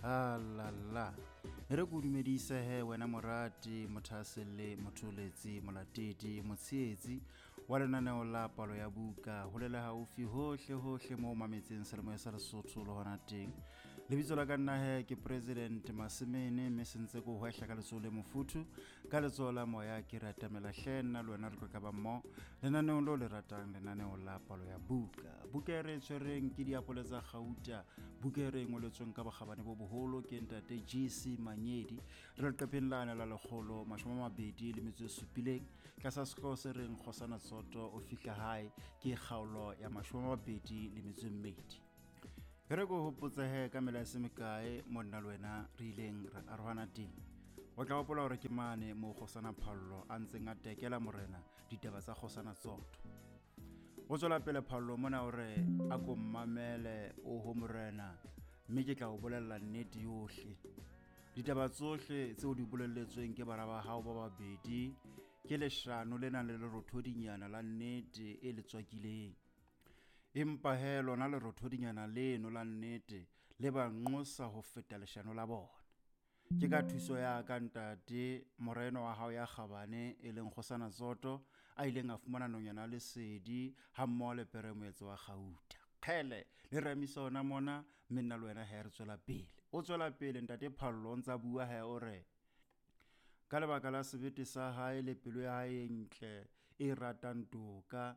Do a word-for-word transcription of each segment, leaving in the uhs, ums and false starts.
Alala e re ko dumedise he wena morati, mothaselle, motholetsi, molatedi, motshehetsi wa lenaneo la Palo ya Buka, holela haufi hohle hohle moo mametseng seyalemoya sa Lesotho le hona teng. Lebitso la ka nna he ke President Masemene, mme sentse ko hwehla ka letsoho le mofuthu, ka letsoho la moya ke ratamela hle nna le wena re tlo ka ba mmoho lenaneong leo le ratang, lenaneo la Palo ya Buka. Buka e re e tshwereng ke Diapole tsa Kgauta, buka e re e ngoletsweng ka bokgabane bo boholo ke ntate G C Manyedi. Re leqepheng lane la lekgolo mashome a mabedi le metso e supileng, tlasa sehlooho se reng Kgosana Tsoto o fihla hae, ke kgaolo ya mashome a mabedi le metso e mmedi. E re ko hopotse he ka mela e se mekae mo nna le wena re ileng ra arohana teng. O tla hopola hore ke mane moo Kgosana Phallo a ntseng a tekela morena ditaba tsa Kgosana Tsoto. O tswela pele Phallo mona hore a ko mmamele oho morena, mme ke tla o bolella nnete yohle. Ditaba tsohle tseo di bolelletsweng ke bara ba hao ba babedi ke leshano le nang le lerothodinyana la nnete e le tswakileng. Empa he lona lerothodinyana leno la nnete le ba nqosa ho feta leshano la bona. Ke ka thuso ya ka ntate, moreno wa hao ya kgabane e leng Kgosana Tsoto, a ileng a fumana nonyana lesedi ha mmoho le pere moetso wa kgauta. Kgele, le remisa ona mona, mme nna le wena he re tswela pele. O tswela pele ntate Phallo o ntsa bua he o re, ka lebaka la sebete sa hae le pelo ya hae e ntle e ratang toka,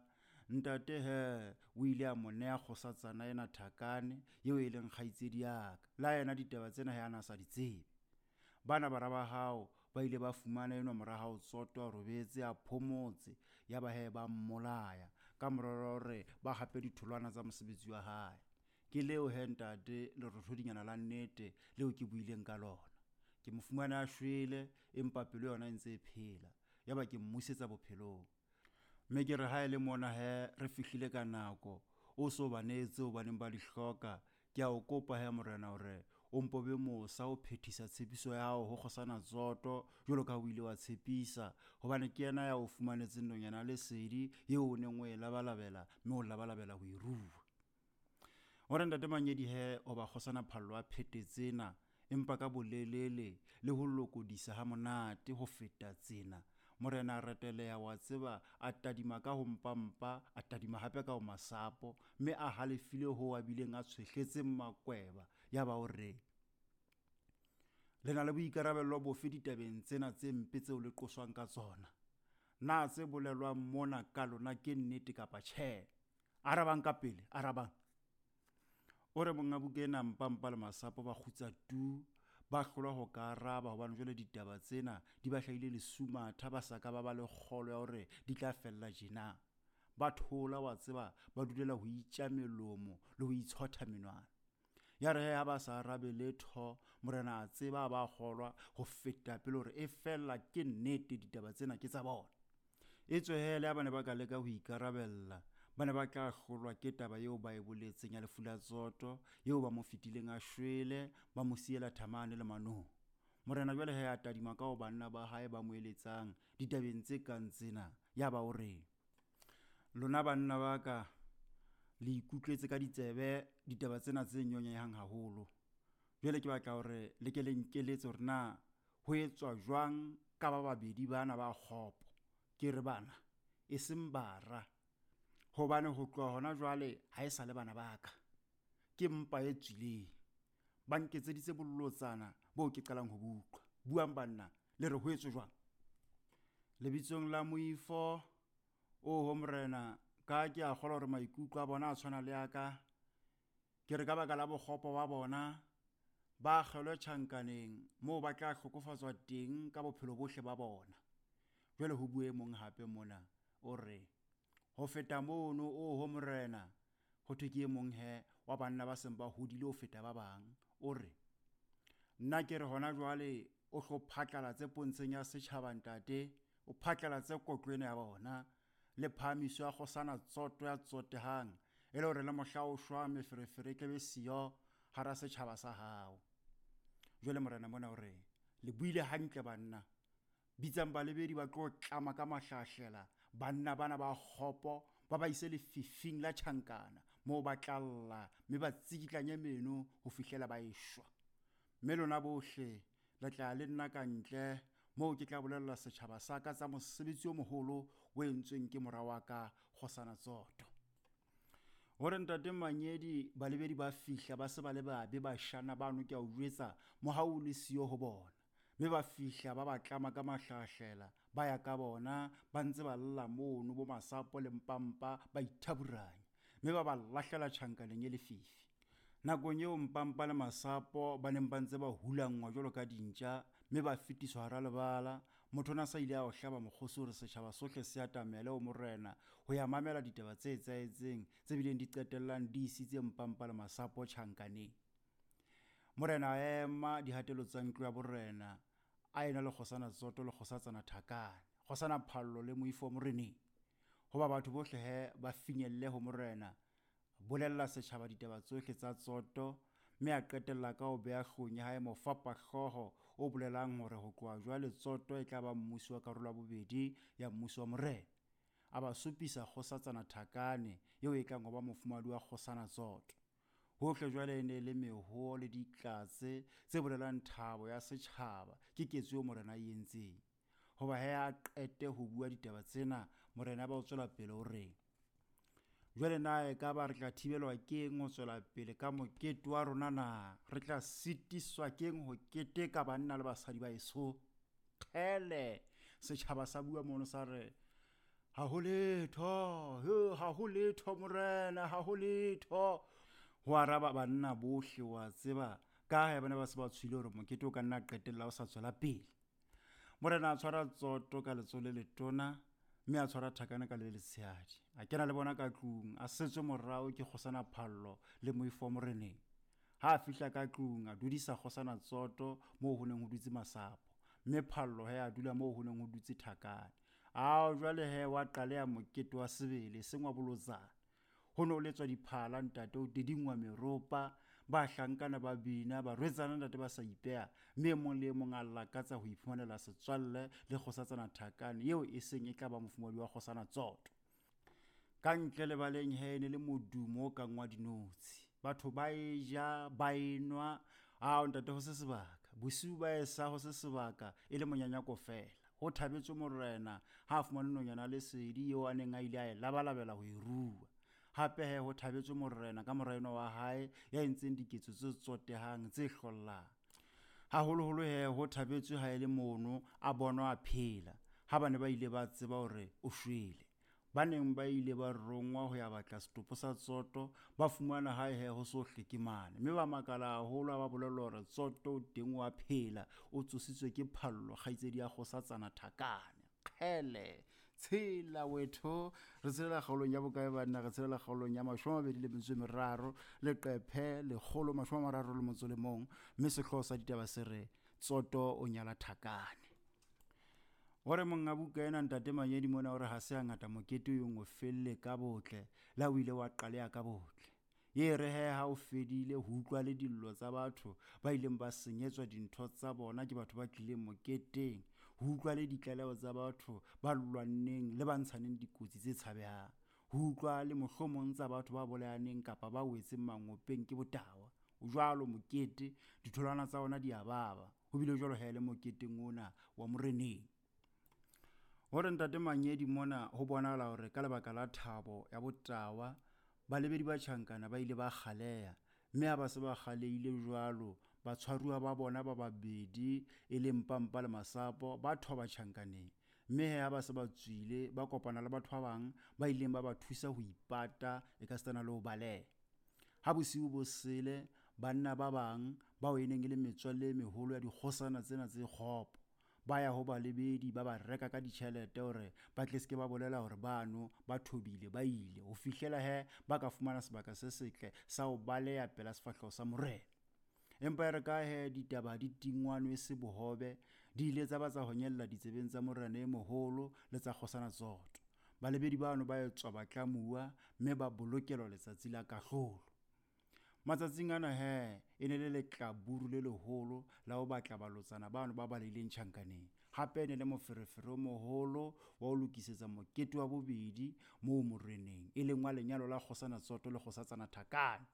ntate he o ile a mo neha kgosatsana ena Thakane eo e leng kgaitsedi ya ka. La yena ditaba tsena he a na sa di tsebe. Bana bara ba hao ba ile ba fumana enwa mora hao Tsoto a robetse a phomotse, ya ba he ba mmolaya ka morero hore ba hape ditholwana tsa mosebetsi wa hae. Ke leo he ntate lerothodinyana la nnete leo ke buileng ka lona. Ke mo fumane a shwele empa pelo yona e ntse e phela, ya ba ke mmusetsa bophelong. Mme ke re ha e le mona he re fihlile ka nako, o so ba neetse o baneng ba di hloka. Ke a o kopa he morena hore o mpo be mosa o phethisa tshepiso ya hao ho Kgosana Tsoto jwalo ka ha o ile wa tshepisa, hobane ke yena ya o fumanetseng nonyana lesedi eo o neng o e labalabela, mme o labalabela ho e rua. O re ntate Manyedi he hoba Kgosana Phallo a phete tsena, empa ka bolelele le ho lokodisa ha monate ho feta tsena, morena a reteleha wa tseba, a tadima ka ho mpampa, a tadima hape ka ho masapo, mme a halefile ho a bileng a tshwehletse makweba. Ya ba o re, le na le boikarabello bofe ditabeng tsena tse mpe tseo le qoswang ka tsona? Na tse bolelwang mona ka lona ke nnete kapa tjhe? Arabang ka pele, arabang. O re monga buka ena mpampa le masapo ba kgutsa tu, ba hlolwa ho ka araba hobane jwale ditaba tsena di ba hlahile lesumatha, ba sa ka ba ba le kgolo ya hore di tla fella tjena. Ba thola wa tseba, ba dulela ho itja melomo le ho itshotha menwana. Ya re he ha ba sa arabe letho, morena a tseba ba kgolwa ho feta pele hore e fella ke nnete ditaba tsena ke tsa bona. Etswe he le ha ba ne ba ka leka ho ikarabella, ba ne ba tla hlolwa ke taba eo ba e boletseng ya lefu la Tsoto, eo ba mo fetileng a shwele, ba mo siela thamane le manong. Morena jwale he a tadima ka ho banna ba hae ba mo eletsang ditabeng tse kang tsena, ya ba o re, lona banna ba ka le ikutlwetse ka ditsebe ditaba tsena tse nyonyehang haholo. Jwale ke batla hore le ke le nkeletse hore na ho etswa jwang ka ba babedi bana ba kgopo. Ke re bana, e seng bara, hobane ho tloha hona jwale ha e sa le bana ba ka. Ke mpa e tswileng. Ba nketseditse bolotsana boo ke qalang ho bo utlwa. Buang banna, le re ho etswe jwang? Lebitsong la moifo, oho morena, ka ke a kgolwa hore maikutlo a bona a tshwana le a ka. Ke re ka baka la bokgopo ba bona, ba akgelwe tjhankaneng moo ba tla hlokofatswa teng ka bophelo bohle ba bona. Jwale ho bue mong hape mona, o re, ho feta mono, oho morena, ho thwe ke e mong he wa banna ba seng ba hodile ho feta ba bang. O re, nna ke re hona jwale o hlo phatlalatse pontsheng ya setjhaba ntate, o phatlalatse kotlo ena ya bona le phahamiso ya Kgosana Tsoto ya tsotehang, e le hore le mohla o shwa meferefere e tlabe siyo hara setjhaba sa hao. Jwale morena mona o re, le buile hantle banna, bitsang balebedi ba tlo tlama ka mahlahlela banna bana ba kgopo, ba ba ise lefifing la tjhankana moo ba tla lla mme ba tsikitlanye meno ho fihlela ba eshwa. Mme lona bohle le tla le nna ka ntle moo ke tla bolella setjhaba sa ka tsa mosebetsi o moholo o entsweng ke mora wa ka Kgosana Tsoto. Hore ntate Manyedi balebedi ba fihla ba se ba le babe bashana bano ke a o jwetsa mohau o le siyo ho bona. Mme ba fihla ba ba tlama ka mahlahlela ba ya ka bona ba ntse ba lla mono bo Masapo le Mpampa ba ithaburanya mme ba ba lahlela tjhankaneng e lefifi. Nakong eo Mpampa le Masapo ba neng ba ntse ba hulangwa jwalo ka dintja mme ba fetiswa hara lebala, motho ona sa ile a o hlaba mokgosi hore setjhaba sohle se atamele ho morena ho ya mamela ditaba tse etsahetseng tse bileng di qetellang di isitse Mpampa le Masapo tjhankaneng. Morena a ema dihatelo tsa ntlo ya borena a ena le Kgosana Tsoto le Kgosatsana Thakane, Kgosana Phallo le moifo moreneng. Hoba batho bohle he ba finyelle ho morena, bolella setjhaba ditaba tsohle tsa Tsoto mme a qetella ka ho beha hloohong ya hae mofapahlooho o bolelang hore ho tloha jwale Tsoto e tla ba mmusi wa karolo ya bobedi ya mmuso wa morena. A ba supisa Kgosatsana Thakane eo e tlang ho ba mofumahadi wa Kgosana Tsoto. Hohle jwale e ne le mehoo le ditlatse tse bolelang thabo ya setjhaba ke ketso eo morena a e entseng. Hoba he a qete ho bua ditaba tsena, morena ba o tswela pele o reng: Jwale na ekaba re tla thibelwa keng ho tswela pele ka mokete wa rona na? Re tla sitiswa keng ho keteka banna le basadi ba eso? Kgele, setjhaba sa bua mono sa re, ha ho letho, ha ho letho morena, ha ho letho. Ho araba banna bohle wa tseba ka ha ba ne ba se ba tshohile hore mokete o ka nna qetella o sa tswela pele. Morena a tshwara Tsoto ka letsoho le letona mme a tshwara Thakane ka le letshehadi. A kena le bona ka tlung, a setswe morao ke Kgosana Phallo le moifo wa moreneng. Ha a fihla ka tlung, a dudisa Kgosana Tsoto moo ho neng ho dutse Masapo, mme Phallo he a dula moo ho neng ho dutse Thakane. Ao jwale he wa qaleha mokete wa sebele, eseng wa bolotsana. Ho ne ho letswa diphala ntate, ho tedingwa meropa, bahlankana ba bina, barwetsana ntate ba sa ipeha, mme e mong le e mong a lakatsa ho iphumanela setswalle le Kgosatsana Thakane eo e seng e tla ba mofumahadi wa Kgosana Tsoto. Ka ntle lebaleng he ne le modumo o kang wa dinotshi. Batho ba e ja, ba enwa, ao ntate ho se sebaka. Bosiu ba esa ho se sebaka e le monyanyako feela. Ho thabetswe morena ha a fumane nonyana lesedi eo a neng a ile a e labalabela ho e rua. Hape he ho thabetswe morena ka mora enwa wa hae ya entseng diketso tse tsotehang tse hlollang. Haholoholo he ho thabetswe ha e le mono a bonwa a phela ha ba ne ba ile ba tseba hore o shwele. Ba neng ba ile ba rongwa ho ya batla setopo sa Tsoto ba fumana hae he ho sohle ke mane, mme ba makala haholo ha ba bolellwa hore Tsoto o teng o a phela, o tsositswe ke Phallo kgaitsedi ya Kgosatsana Thakane. Kgele, tshela wetho, re tshelela kgaolong ya bokae banna? Re tshelela kgaolong ya mashome a mabedi le metso e meraro leqephe lekgolo mashome a mararo le motso le mong, mme sehlooho sa ditaba se re Tsoto o nyala Thakane. Hore monga buka ena ntate Manyedi mona hore ha se hangata mokete o yong o felle ka botle, le ha o ile wa qaleha ka botle. Ye re he ha o fedile ho utlwa le dillo tsa batho ba ileng ba senyetswa dintho tsa bona ke batho ba tlileng moketeng, ho utlwa le ditlaleho tsa batho ba lwanneng le ba ntshaneng dikotsi tse tshabehang, ho utlwa le mohlomong tsa batho ba bolayaneng kapa ba wetseng mangopeng ke botawa. O jwalo mokete, ditholwana tsa ona di a baba. Ho bile jwalo he le moketeng ona wa moreneng. Hore ntate Manyedi mona ho bonahala hore ka lebaka la thabo ya botawa balebedi ba tjhankana ba ile ba kgaleha, mme ha ba se ba kgalehile jwalo batshwaruwa ba bona ba babedi e leng Mpampa le Masapo ba thoba tjhankaneng. Mme he ha ba se ba tswile ba kopana le batho ba bang ba ileng ba ba thusa ho ipata e ka sitana le ho baleha. Ha bosiu bo sele banna ba bang bao e neng e le metswalle e meholo ya dikgosana tsena tse kgopo ba ya ho balebedi ba ba reka ka ditjhelete hore ba tle se ke ba bolela hore bano ba thobile ba ile ho fihlela he ba ka fumana sebaka se setle sa ho baleha pela sefahleho sa morena. Empa e re ka he ditaba di tingwanwe se bohobe di ile tsa ba tsa honyella ditsebeng tsa morena e moholo le tsa Kgosana Tsoto. Balebedi bano ba etswa batlamuwa mme ba bolokelwa letsatsi la kahlolo. Matsatsing ana he e ne le letlaburu le leholo la ho batla balotsana bano ba balehileng tjhankaneng. Hape e ne le moferefere o moholo wa ho lokisetsa mokete wa bobedi moo moreneng, e leng wa lenyalo la Kgosana Tsoto le Kgosatsana Thakane.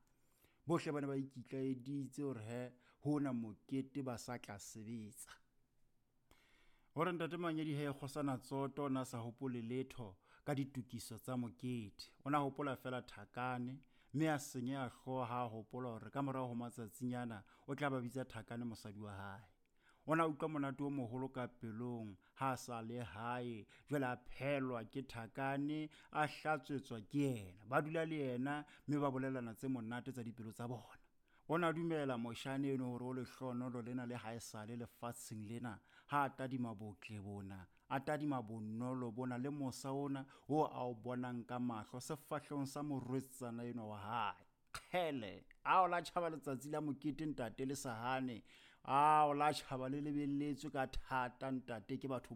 Bohle ba ne ba ikitlaeditse hore he Hona mokete ba sa tla sebetsa. Hore ntate Manyedi he kgosana Tsoto o na sa hopole letho ka ditokiso tsa mokete. O na hopola feela Thakane, mme a senyeha hlooho ha a hopola hore ka morao ho matsatsinyana o tla ba bitsa Thakane mosadi wa hae. O na utlwa monate o moholo ka pelong ha a sa le hae, jwale a phelwa ke Thakane, a hlatswetswa ke yena. Ba dula le yena mme ba bolellana tse monate tsa dipelo tsa bona. O na dumela moshane eno hore o lehlohonolo lena le haesale lefatsheng lena ha a tadima botle bona, a tadima bonolo bona le mosa ona o a o bonang ka mahlo sefahlehong sa morwetsana enwa wa hae. Kgele, ao la tjhaba letsatsi la mokete ntate le sa hane. Ao la tjhaba le lebelletswe ka thata ntate ke batho